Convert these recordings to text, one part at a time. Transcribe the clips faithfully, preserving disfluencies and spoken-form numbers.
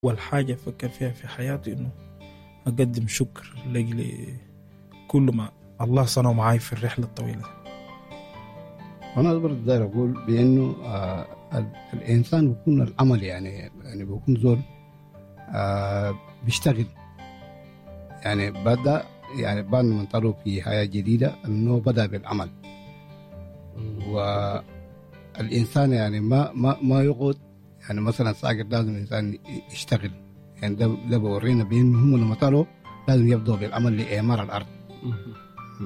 أول حاجة أفكر فيها في حياتي إنه أقدم شكر لأجل كل ما الله صنعه معاي في الرحلة الطويلة. أنا برضه داير أقول بأنه آه الإنسان بيكون العمل يعني يعني بيكون زول آه بيشتغل يعني بدأ يعني بعد ما انطلقوا في حياة جديدة إنه بدأ بالعمل. والإنسان يعني ما ما ما يقعد يعني مثلا ساقط، لازم الإنسان يشتغل يعني ده ده بورينا بأنه هم لما طلعوا لازم يبدأوا بالعمل لإعمار الأرض.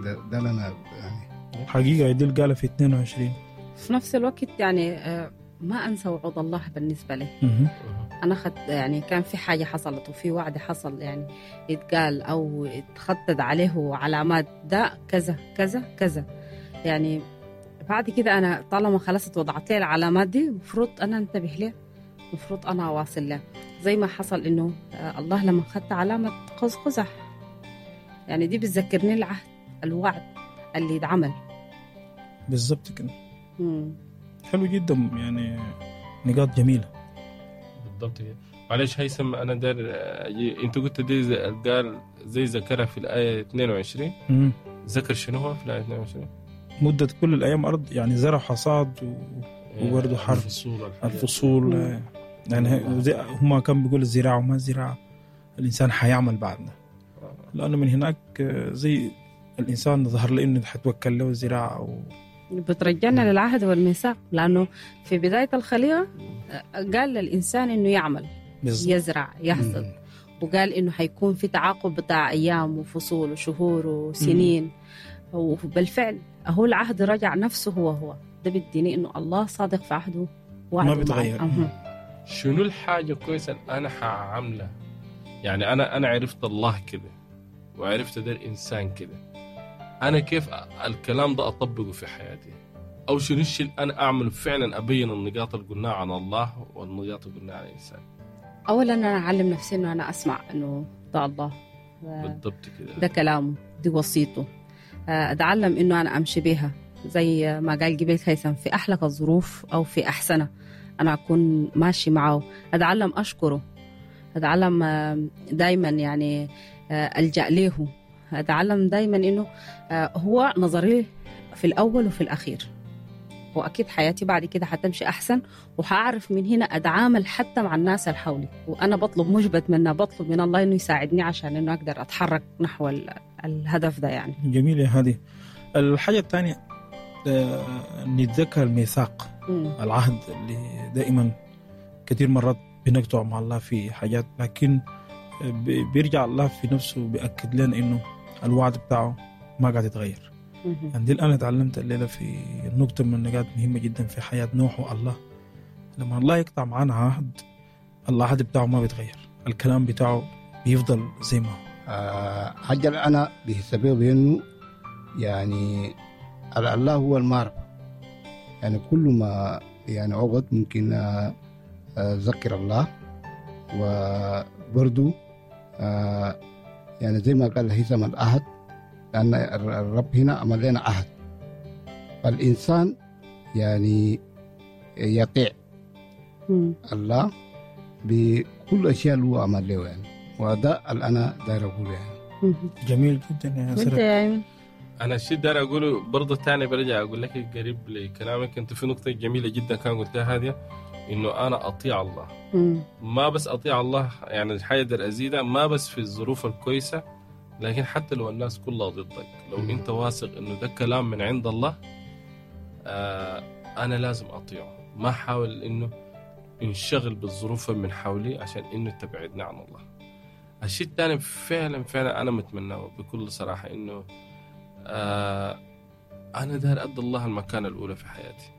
ده, ده لنا يعني حقيقة يدل قال في اثنين وعشرين. في نفس الوقت يعني ما أنسى وعود الله بالنسبة لي. أنا خد يعني كان في حاجة حصلت وفي وعد حصل يعني يتقال أو يتخطط عليه علامات ده كذا كذا كذا يعني. بعد كده أنا طالما خلصت وضعت لي العلامات دي مفروض أنا انتبه لها، مفروض أنا أواصل لها. زي ما حصل إنه الله لما خدت علامة قوس قزح يعني دي بتذكرني العهد الوعد اللي اتعمل بالضبط كده. حلو جدا يعني نقاط جميلة بالضبط كده. معلش هيثم أنا دار أجي. أنت قلت دي زي قال زي ذكرها في الآية اثنين وعشرين. مم. ذكر شنو هو في الآية اثنين وعشرين؟ مدة كل الأيام أرض يعني زرع حصاد و... وبرضه حرث الفصول الفصول يعني هما كان بيقول الزراعة وما الزراعة الإنسان حيعمل بعدنا، لأنه من هناك زي الإنسان ظهر له إنه حتوكل له الزراعة و... بترجعنا للعهد والميثاق، لأنه في بداية الخليقة قال للإنسان إنه يعمل بالزبط. يزرع يحصد، وقال إنه حيكون في تعاقب بتاع أيام وفصول وشهور وسنين. مم. وبالفعل هو العهد رجع نفسه هو هو ده بيديني إنه الله صادق في عهده ما بيتغير. شنو الحاجة كويسة أنا حعملها؟ يعني أنا أنا عرفت الله كده وعرفت ده الإنسان كده، أنا كيف الكلام ده أطبقه في حياتي؟ أو شنو الشيء اللي أنا أعمله فعلا أبين النقاط اللي قلناها عن الله والنقاط اللي قلناها عن الإنسان؟ أولا أنا أعلم نفسي إنه أنا أسمع إنه ده الله بالضبط كده، ده كلامه، دي وصيته، أتعلم إنه أنا أمشي بيها زي ما قال جبيل هيثم في أحلك الظروف أو في أحسنها أنا أكون ماشي معه. أتعلم أشكره، أتعلم دايما يعني ألجأ له، أتعلم دايما إنه هو نظري في الأول وفي الأخير، وأكيد حياتي بعد كده حتمشي أحسن، وحأعرف من هنا أتعامل حتى مع الناس اللي حولي. وأنا بطلب مش بتمنى، بطلب من الله إنه يساعدني عشان إنه أقدر أتحرك نحو الهدف ده يعني. جميل يا هادي. الحاجة الثانية نتذكر الميثاق، العهد اللي دائما كثير مرات بنقطع مع الله في حاجات، لكن بيرجع الله في نفسه بيأكد لنا إنه الوعد بتاعه ما قاعد يتغير. يعني دي الآن تعلمت الليلة في نقطة من النقاط مهمة جدا في حياة نوح والله. لما الله يقطع معنا عهد، العهد بتاعه ما بيتغير، الكلام بتاعه بيفضل زي ما هو. آه حاجة أنا بحسبه بأنه يعني الله هو المعرفة، يعني كل ما يعني عقد ممكن أذكر الله، وبرضو آه يعني زي ما قال هيثم العهد، لأن الرب هنا عمل لنا عهد، فالإنسان يعني يطيع الله بكل أشياء اللي هو عمل له يعني، وده اللي أنا داير أقوله يعني. جميل جدا يا سرب. أنا الشيء داير أقوله برضه تاني، برجع أقول لك قريب لكلامك أنت في نقطة جميلة جدا كان قلتها هذه، إنه أنا أطيع الله. مم. ما بس أطيع الله يعني الحاجة دي أزيدها، ما بس في الظروف الكويسة، لكن حتى لو الناس كلها ضدك، لو مم. أنت واثق إنه ده كلام من عند الله، آه أنا لازم أطيعه، ما أحاول إنه انشغل بالظروف من حولي عشان إنه تبعدنا عن الله. الشيء الثاني فعلا فعلا أنا متمناه بكل صراحة إنه آه أنا داير أدي الله المكانة الأولى في حياتي،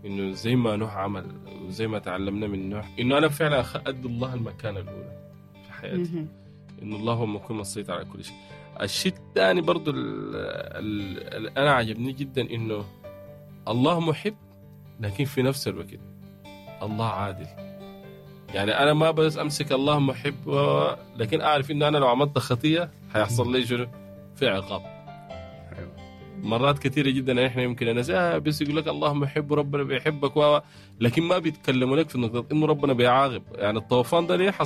إنه زي ما نوح عمل وزي ما تعلمنا من نوح، إنه أنا فعلا أدي الله المكانة الأولى في حياتي، إنه الله هو مكون مسيطر على كل شيء. الشيء الثاني برضو اللي أنا عجبني جدا إنه الله محب، لكن في نفس الوقت الله عادل. يعني أنا ما بس أمسك الله محب، لكن أعرف إنه أنا لو عملت خطية هيحصل لي شنو؟ في عقاب. مرات كثيرة جدا احنا يمكن الناس آه بس يقول لك الله محب ربنا بيحبك و لكن ما بيتكلموا لك في نقطة انه ربنا بيعاقب. يعني الطوفان ده ليه حصل؟